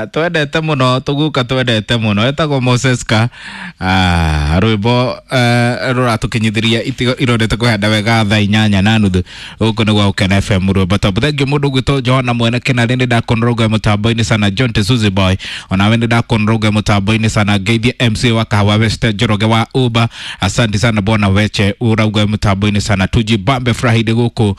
Twendete muno tuguka, twendete muno etagwo Moses ka rwimbo ruratukinyithiria irondete kuhanda wega 8:30 guku nĩ gwa Gukena FM rwimbo top. Thank you mundu gwitwo Johana mwene kinarĩ, nĩ ndakonroga mutambo-inĩ sana. John Tesuzi boy, onawe nĩ ndakonroga mutambo-inĩ sana. Ngeithie MC wa Kahawa West Njoroge wa Uber, asante sana bwana Weche urauga mutambo-inĩ sana. Tujibambe Friday guku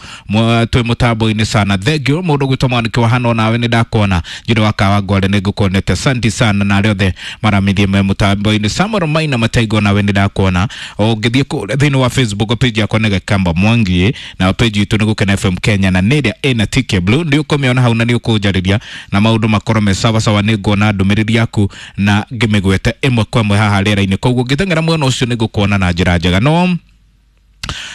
twi mutambo-inĩ sana. Thank you mundu gwitwo mwaniki wa hano, onawe nĩ ndakuona Njiro wa Kahawa Ngware, nĩ ngukuonete, asante sana na arĩa othe maramithie me mutambo-inĩ. Samuel Maina Mataigo, nawe nĩ ndakuona. Ũngĩthiĩ kũrĩa thĩinĩ wa Facebook page yakwa nĩ Gakamba Mwangi, na page itũ nĩ Gukena FM Kenya, na nĩ ĩrĩa ĩna tick blue nĩ ũkũmĩona hau na nĩ ũkũnjarĩria na maũndũ makorwo me sawa sawa. Nĩ nguona ndũmĩrĩri yaku na ngĩmĩgwete ĩmwe kwa ĩmwe haha rĩera-inĩ, koguo ngĩteng'era mwena ũcio nĩ ngũkuona na njĩra njega. No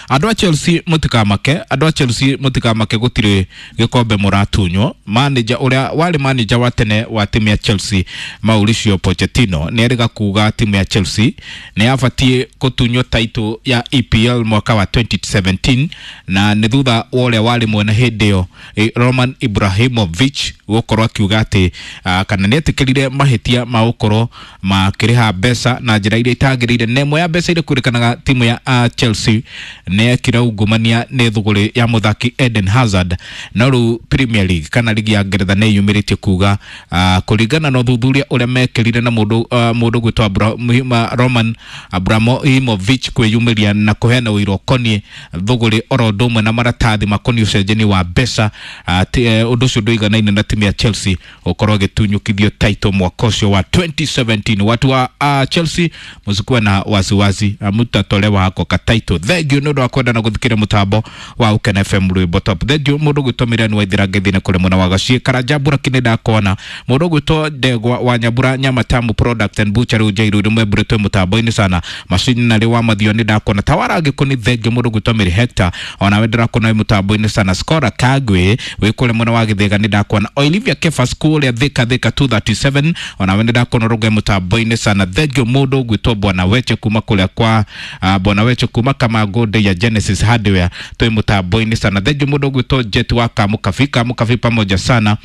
andũ a Chelsea mũtikamake, andũ a Chelsea mũtikamake, gũtirĩ gĩkombe mũratunywo. Manager ũrĩa warĩ manager wa tene wa timu ya Chelsea Mauricio Pochettino nĩ erĩga kuga timu ya Chelsea nĩ yabatiĩ gũtunywo title ya EPL mwaka wa 2017, na nĩ thutha wa ũrĩa warĩ mwene hĩndĩ ĩyo Roman Ibrahimovic gũkorwo akiuga atĩ kana nĩ etĩkĩrire mahĩtia ma gũkorwo makĩrĩha mbeca na njĩra iria itagĩrĩire, na ĩmwe ya mbeca iria kwĩrĩkanaga timu ya Chelsea nĩ yekire ungumania nĩ thũgũrĩ ya mũthaki Eden Hazard. No rĩu Premier League kana ligi ya Ngeretha nĩ yumĩrĩtie kuga kũringana na ũthuthuria ũrĩa mekĩrire na mũndũ gwĩtwo Roman Abramovich kwĩyumĩria na kũheana ũira ũkoniĩ thũgũrĩ oro ũndũ ũmwe na maratathi makoniĩ ũcenjania wa mbeca, ũndũ ũcio ndũiganaine na timu ya Chelsea gũkorwo ĩgĩtunyũkithio title mwaka ũcio wa 2017. Watu wa Chelsea msikuwe na wasiwasi, mutatolewa hako ka title. Thank you nĩ ũndũ wa kwenda na gũthikĩrĩria mũtambo wa Gukena FM rwĩmbo top. Thank you mũndũ gwĩtwo Miriam Waithira ngeithi nĩ kũrĩ mwena wa Gaciĩ Karanja Mbura nĩ ndakuona. Mũndũ gwĩtwo Ndegwa wa Nyambura Nyama Tamu Product and Butchery Njairu rĩmwe mbure twĩ mũtambo-inĩ sana. Macinarĩ wa Mathio nĩ ndakuona. Tawara Gĩkũni, thank you mũndũ gwĩtwo Mary Hector, onawe ndĩrakuona wĩ mũtambo-inĩ sana. Skora Kagwe wĩ kũrĩa mwena wa Gĩthĩga nĩ ndakuona. Olivia Kefas kũrĩa Thika Thika 237, onawe nĩ ndakuona rũge mũtambo-inĩ sana. Thank you mũndũ gwĩtwo Bwana Weche kuma kũrĩa kwa Bwana Weche kuma Kamango ya Genesis Hardware twĩ mũtambo-inĩ sana. Thank you mũndũ gwĩtwo Jet wa Kamukabi, Kamukabi pamoja sana.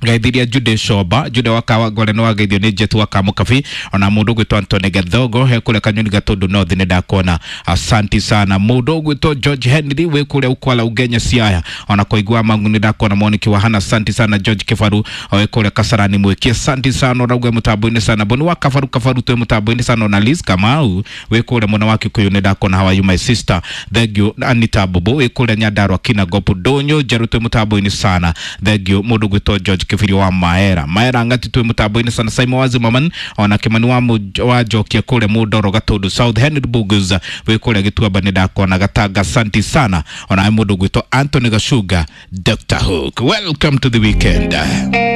Gaithiria Jude Shoba, Jude wa Kawangware nĩ wageithio nĩ Jet wa Kamukabi, ona mũndũ ũgwĩtwo Antony Gathogo he kũrĩa Kanyoni Gatundu North nĩ ndakuona, asanti sana. Mũndũ ũgwĩtwo George Henry wĩ kũrĩa Ukwala Ugenya Siaya, ona kũigua mangu nĩ ndakuona. Moniki wa Hana, asanti sana. George Kibaru wĩ kũrĩa Kasarani Mwiki, asanti sana, ũrauga mũtambo-inĩ sana. Boni wa Kabaru Kabaru twĩ mũtambo-inĩ sana. Ona Liz Kamau wĩ kũrĩa mwena wa Kikuyu nĩ ndakuona. How are you my sister? Thank you. Anita Bobo wĩ kũrĩa Nyandarua Kinangop Ndũnyũ Njerũ twĩ mũtambo-inĩ sana. Thank you mũndũ ũgwĩtwo George Kibiri wa Maera Maera ngati twĩ mũtambo-inĩ sana. Simon Wazimaman ona Kimani wa Njokia kũrĩa Mũndoro Gatundu South, Henry Bugus wĩ kũrĩa Gĩtuamba nĩ ndakuona. Gatanga, asanti sana. Ona mũndũ ũgwĩtwo Anthony Gachunga, Dr. Hook, welcome to the weekend.